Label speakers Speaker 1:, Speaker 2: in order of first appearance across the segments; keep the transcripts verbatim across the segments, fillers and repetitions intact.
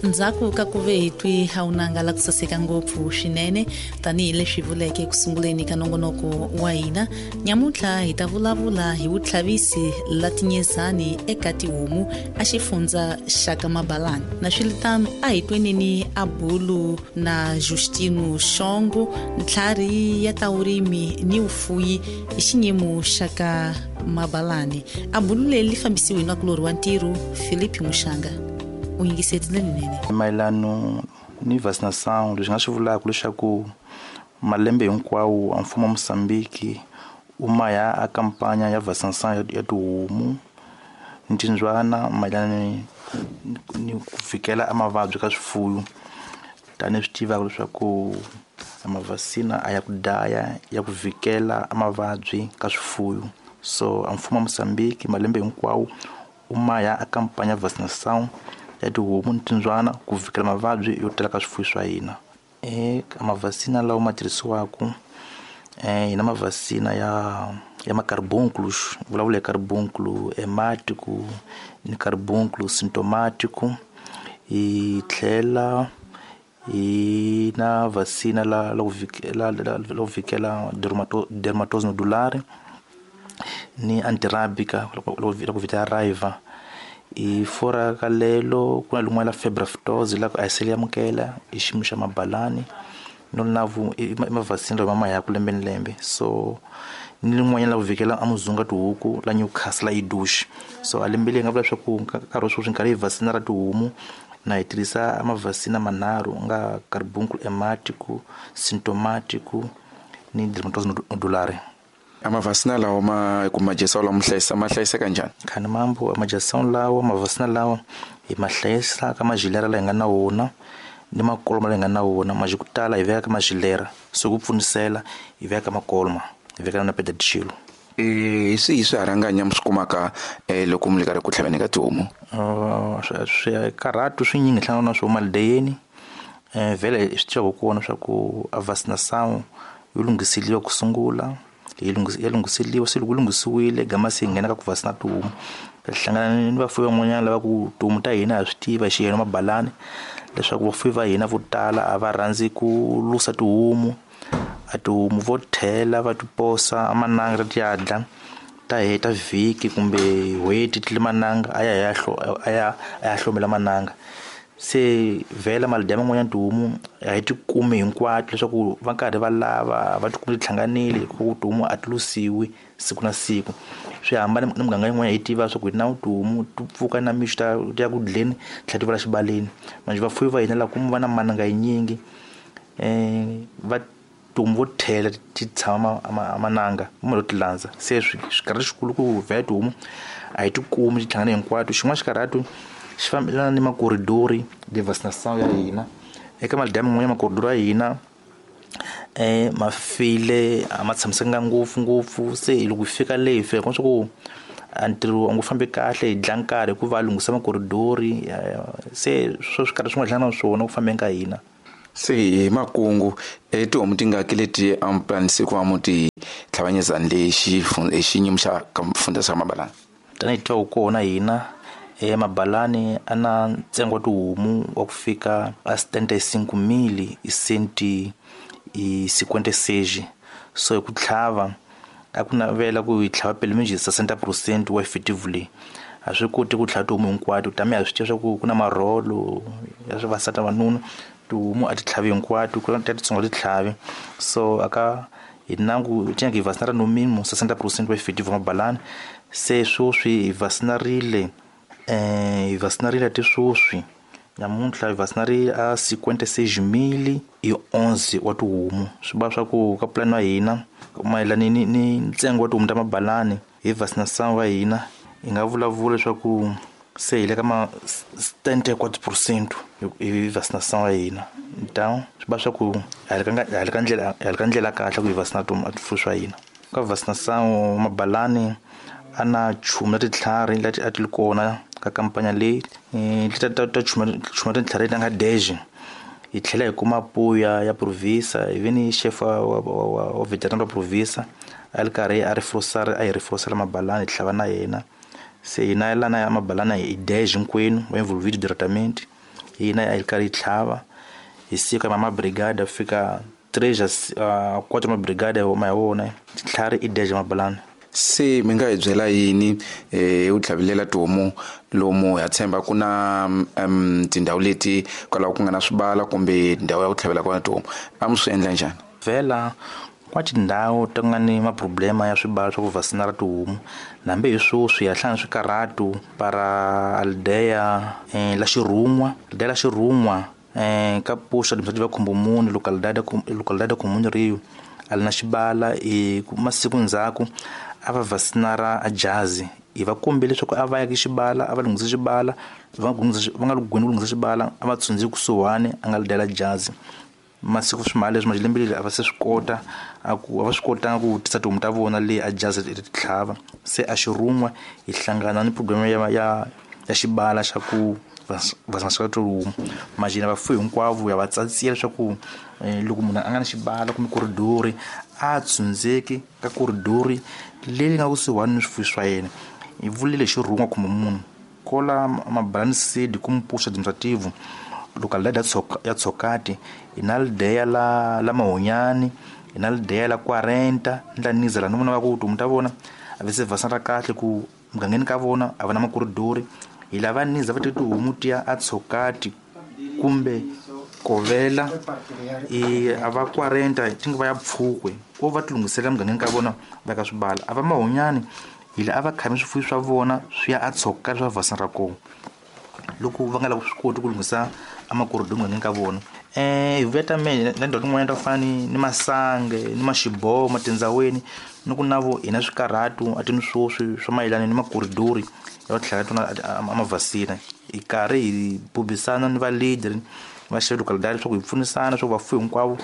Speaker 1: Ndzhaku ka ku ve hi twi a wu nanga la ku saseka ngopfu swinene tanihileswi vuleke ku sunguleni ka nongonoko wa hina. Nyamuntlha hi ta vulavula hi vutlhavisi la tinyezani eka tihomu a xifundza xa ka Mabalani. Na swiritano a hi tweneni a bulu na Justino Xongo, ntlhari ya ta vurimi ni vufuyi hi xinyimo xa ka Mabalani. A bulu leri fambisiwe na kulorhi wa ntirho Philip Mushanga. U yingiserile linene.
Speaker 2: Mayelano ni vaccination leswi nga swi vulaka leswaku malembe hinkwawo a mfumo wa Mozambique u maya a kampanya ya vaccination ya tihomu ni timbyana mayelana ni, ni ku fikela a mavabyi ka swifuwo. Tanihi swi tivaka leswaku a mavhasina a ya ku daya ya ku vikela a mavabyi ka swifuwo. So a mfumo wa Mozambique malembe hinkwawo u maya a kampanya ya vaccination ya tihomu ni timbyana ku vikela mavabyi yo tala ka swifuwo swa hina. Eka mavhasina lawa ma tirhisiwaka eh hina mavhasina ya ya macarbúnculos, vulavula hi carbúnculo hemático ni carbúnculo sintomático. Hi tlhela hi na vhasina la la ku vikela la ku vikela dermato dermatose nodulare ni antirrábica la ku vitana raiva. I fora ka lelo ku na lin'wana la febre aftosa la ku a hi se amukela i xiyimo xa Mabalani no na vu i mavhasini lawa ma ya ku lembe ni lembe. So ni lin'wanyana la ku vikela a muzunga tihuku la Newcastle la idushi. So a lembe leyi nga vula leswaku nkarhi wa sweswi nkarhi hi vhasina ra tihomu na hi tirhisa mavhasina manharhu nga carbuncle hemático, sintomático ni dermatose nodulare.
Speaker 3: Amavhasina lawa ma ku madyisa lawa ma hlayisa ma hlayiseka njhani?
Speaker 2: Khani mambo amadyisa lawa mavhasina lawa hi ma hlayisa ka majilera la hi nga na wona ni makoloma la hi nga na wona. Maji ku tala hi veka ka majilera, so ku pfunisela hi veka ka makoloma, hi veka na peda tixilo.
Speaker 3: Hi swihi swiharhanganya mi swi kumaka loko mi le karhi ku tlhaveni ka tihomu?
Speaker 2: Swikarhatu swinyingi hi hlangana na swo malideyeni. Vhele swi tiva kona swa ku a vaccination yo lunghiseliwa ku sungula ya lunghiseliwa se loko lunghisiwile gama se hi nghena ka ku vacina tihomu. Hi hlangana ni vafuwi van'wanyana lava ku tihomu ta hina ha swi tiva hi xiyeno Mabalani leswaku vafuwi va hina vo tala a va rhandzi ku lusa tihomu. A tihomu vo thela va ti posa amananga ti ya dla ta heta vhiki kumbe n'hweti ti le mananga a ya ya a ya a ya hlomela mananga. Se vhela mali ya man'wanyana tihomu a hi ti kumi hinkwato leswaku va karhi va lava va ti kumi ti hlanganile hikuva tihomu a ti lusiwi siku na siku. Swi hambana ni muganga yin'wana hi tiva leswaku hi na tihomu ti pfuka na mixo ta ti ya ku dleni tlhela ti vula xibaleni. Manjhe vafuwi va hina laha ku va na mananga yinyingi um va tihomu vo thela ti tshama mananga mo lo ti landza. Se swikarhi lexikulu ku vhela tihomu a hi ti kumi ti hlangane hinkwato. Xin'wana xikarhatu xi fambelana ni makoridori de vaccination ya hina. Eka malidamu man'wanyana makoridori ya hina eh ma file a ma tshamisekanga ngopfu ngopfu. Se loko hi fika le hi fika swa ku a ntirho a ngu fambi kahle hi dlaya nkarhi hikuva a lunghisa makoridori. Se swo swikarhi swin'wana hi hlangana na swona ku fambeni ka hina.
Speaker 3: Se hi makungu tihomu tingaki leti a mi planise ku va mu ti tlhavanyezani lexi xinyimo xa mfundza xa Mabalani?
Speaker 2: Tanihi tiva kona hina e Mabalani a na ntsengo wa tihomu wa ku fika a setenta e cinco mil e cento e cinquenta e seis. So hi ku tlhava a ku navela ku hi tlhava pelo menos sessenta por cento wa efetivo leyi. A swi koti ku tlhava tihomu hinkwato, tami ha swi tiva swa ku ku na marholo ya vavasati na vanuna tihomu a ti tlhavi hinkwato, ku na ta titsongo ti tlhavi. So aka hi nangu tinga hi vacinara no mínimo sessenta por cento wa efetivo Mabalani. Se sweswi hi vacinarile eh hi vacinarile ti sweswi namuntlha hi vacinarile a cinquenta e seis mil e onze wa tihomu. Swi va swa ku ka plan wa hina mayelana ni ni ntsengo wa tihomu ta Mabalani hi vaccination wa hina hi nga vulavula leswaku se hi le ka ma setenta e quatro por cento hi vaccination wa hina. Então swi va swa ku hi le ka hi le ka ndlela hi le ka ndlela kahle ku hi vacina tihomu swifuwo swa hina. Ka vaccination Mabalani a na chumu na titlhari leti a ti ri kona ka kampanya leyi leti ta ta chuma chuma tintlhari leti nga deje. Hi tlhela hi kuma apoio ya provisa hi ve ni chef wa wa wa veterinary wa provisa a ri karhi a reforçar a hi reforçar Mabalani hi tlhava na yena. Se hina lana ya Mabalani hi deje hinkwenu va involvido diretamente. Hina a hi karhi hi tlhava hi siku ya mama brigade fika três a quatro brigade ma ya vona tlhari i dez mabalani.
Speaker 3: Se mi nga hi byela yini eh u tlhavelela tihomu lomu ya tshemba ku na um, tindhawu leti kwalaho ku nga na swibala kumbe ndhawu ya ku tlhavela kona tihomu, a mi swi endla njhani?
Speaker 2: Vhela kwa tindhawu ti nga ni maproblema ya swibala swa ku vasinara tihomu, nambe hi swoswi ya hlangana swikarhatu para aldeia eh, la xirhun'wa aldeia la xirhun'wa eh, ka posto administrativa Khombomuni localidade localidade Comune Rio ali na xibala e masiku ndzhaku a va vasinara a jazi. Hi va kombele leswaku a va ya ka xibala a va lunghisa xibala, va va nga lugweni ku lunghisa xibala a va tshundzi kusuhani a nga lidela jazi. Masiku swimali leswi malembe leri a va se swi kota a ku a va swi kotanga ku tisa tihomu ta vona le a jazi ti tlhava. Se a xirhun'wa hi hlangana ni problema ya ya ya xibala xa ku vasinasa tihomu. Majina vafuwi hinkwavo ya va tsatsiyela leswaku loko munhu a nga na xibala kumbe koridori a tshundzeki ka koridori leri nga kusuhani ni swifuwo swa yena. Hi vulile xirhun'wa kumbe munhu kola mabalani sedi ku posto administrativo localidade ya Tshokati hi na aldeia la la Mahonyani, hi na aldeia la quarenta ni la Niza la ni vona va ku tihomu ta vona a va se vasinara kahle ku mugangeni ka vona a va na makoridori. Hi lava Niza va teka tihomu ti ya a Tshokati kumbe Kovela e a va quarenta ti nga va ya Pfukwe ko va ti lunghisela mugangeni ka vona va ka swibala. A va Mahonyani hi la a va khame swifuwo swa vona swi ya a Tshokati swa vasinara kona loko va nga lavi swi koti ku lunghisa a makoridori mugangeni ka vona. Eh hi vuya ta mehe na ndhawu tin'wanyana ta ku fana ni ni Masange ni Maxiboma tindhawini ni ku na vo hi na swikarhatu a ti ni swoswi swa mayelana ni makoridori ya va tlhela tona a mavhasina. Hi karhi hi bubisana ni va leader va xave localidade leswaku hi pfunisana leswaku vafuwi hinkwavo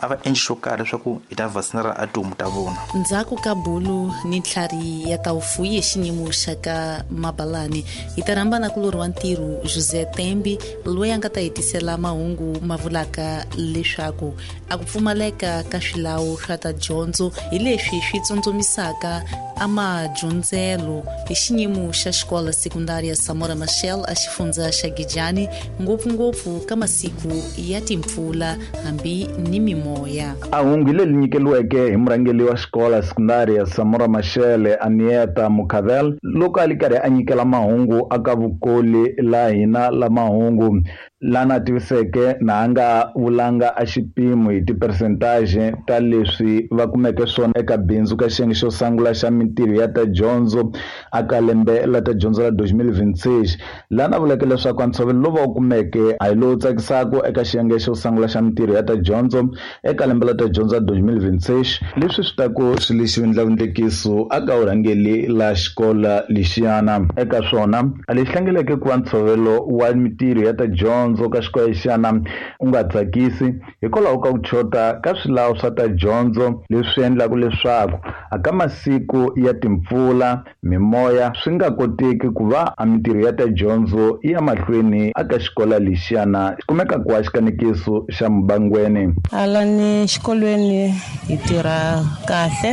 Speaker 2: a va endli xo karhi leswaku hi ta vasinara a tihomu ta vona.
Speaker 1: Ndzhaku ka bulu ni tlhari ya ta vufuwi xiyimo xa ka mabalani hi ta rhamba na kulorhi wa ntirho José Tembi loyi a nga ta hetisela mahungu ma vulaka leswaku a ku pfumaleka ka swilawu swa ta dyondzo hi leswi swi tsundzumisaka a madyondzelo hi xiyimo xa xikolo sekundária Samora Machel a xifundza xa Gijani ngopfungopfu ka masiku ya timpfula hambi ni mimoya.
Speaker 4: A hungu leri nyikeliweke hi murhangeri wa xikolo sekundária Samora Machel Anieta Mukhavel loko a li karhi a nyikela mahungu aka vukoli la hina la mahungu lana tiviseke na a nga vulanga a xipimo hi tipercentage ta leswi va kumeke swona eka bindzu ka xiyenge xo sungula xa mintirho ya ta dyondzo aka lembe la ta dyondzo la dois mil vinte e seis lana vuleke leswaku ntshovelo lowu va wu kumeke a hi lowu tsakisaka eka xiyenge xo sungula xa mintirho ya ta dyondzo eka lembe la ta dyondzo la dois mil vinte e seis leswi swi ta ku swi lexi ndlawundekiso aka vurhangeri la xikola lexiyana. Eka swona a lexi hlangeleke ku va ntshovelo wa mintirho ya ta dyondzo ka xikolo lexiyana u nga tsakisi hikwalaho ka ku chota ka swilawu swa ta dyondzo leswi endlaka leswaku aka masiku ya timpfula mimoya swi nga koteki ku va a mintirho ya ta dyondzo yi ya mahlweni aka xikola lexiyana xi kumeka ku xikanekiso xa Mubangweni.
Speaker 5: Alani xikolweni hi tirha kahle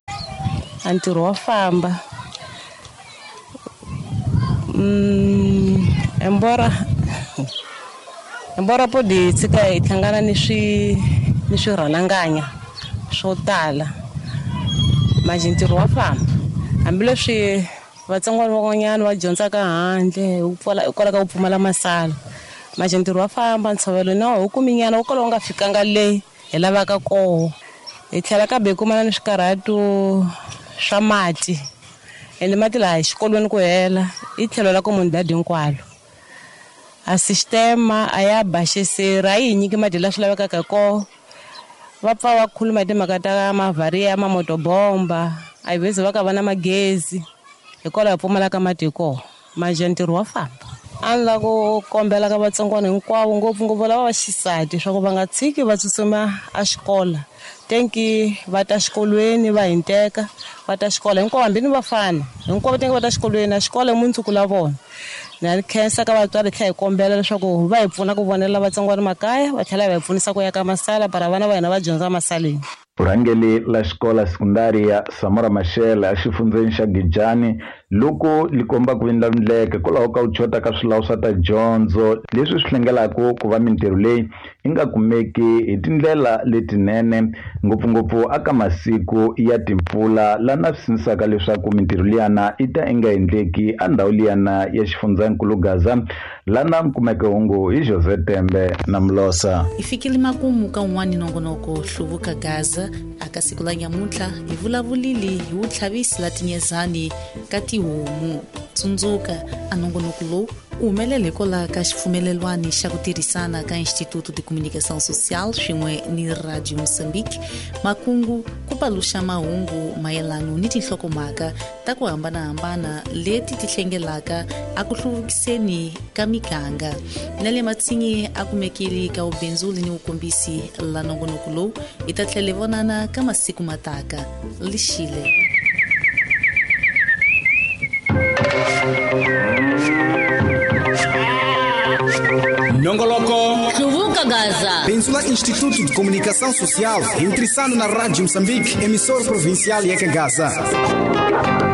Speaker 5: a ntirho wa famba mm, embora embora po di tshika hi hlangana ni swi ni swirhalanganya swo tala manje ntirho wa famba hambileswi vatsongwana van'wanyana va dyondzaka handle hikwalaho ka ku pfumala masala manje ntirho wa famba ntshovelo na wu kuminyana wo kala wu nga fikanga le hi lavaka koho. Hi tlhela kambe hi kumana ni swikarhatu swa mati ende mati laha exikolweni ku hela i tlhelo la comunidade hinkwalo a sistema a ya baxiseri a yi hi nyiki mati la swi lavekaka koho va pfa va khuluma hi timhaka ta mavhariya ma motobomba a hi vezi va ka va na magezi hikwalaho hi pfumalaka mati hi koho manje ntirho wa famba. A ni lava ku kombela ka vatsongwana hinkwavo ngopfungopfu lava va xisati swa ku va nga tshiki va tsutsuma a xikola tenki va ta xikolweni va hinteka va ta xikola hinkwavo hambi ni vafana hinkwavo tenki va ta xikolweni a xikola i mundzuku la vona. Na ni khensa ka vatswari tlhela hi kombela leswaku va hi pfuna ku vonela vatsongwana makaya va tlhela va hi pfunisa ku ya ka masala para vana va hina va dyondza masaleni.
Speaker 4: Vurhangeri la xikola sekundária Samora Machel exifundzeni xa Gijani Loko li komba ku endla kwalaho ka ku chota ka swilawu swa ta dyondzo leswi swi hlengelaka ku va mintirho leyi yi nga kumeki hi tindlela letinene ngopfungopfu aka masiku ya timpfula lana swi sindzisaka leswaku mintirho liyana yi ta yi nga endleki endhawu liyana ya xifundzankulu Gaza lana mi kumeke hungu hi Jose Tembe na Mlosa.
Speaker 1: Hi fikile makumu ka un'wani nongonoko Hluvuka Gaza aka siku la nyamuntlha hi vulavulile hi vutlhavisi la tinyezani ka tihomu. Tsundzuka a nongonoko lowu u humelele hikwalaho ka xipfumelelwani xa ku tirhisana ka Instituto de Comunicação Social swin'we ni Radio Moçambique makungu ku paluxa mahungu mayelano ni tinhlokomhaka ta ku hambanahambana leti ti hlengelaka a ku hluvukiseni ka miganga na le matsinyi a kumekile ka vubindzuli ni vukombisi la nongonoko lowu hi ta tlhela hi vonana ka masiku mataka lixile.
Speaker 6: Nongoloko
Speaker 7: Hluvuka Gaza.
Speaker 6: Benzula Instituto de Comunicação Social, intressando na Rádio Moçambique, emissora provincial Yeka Gaza.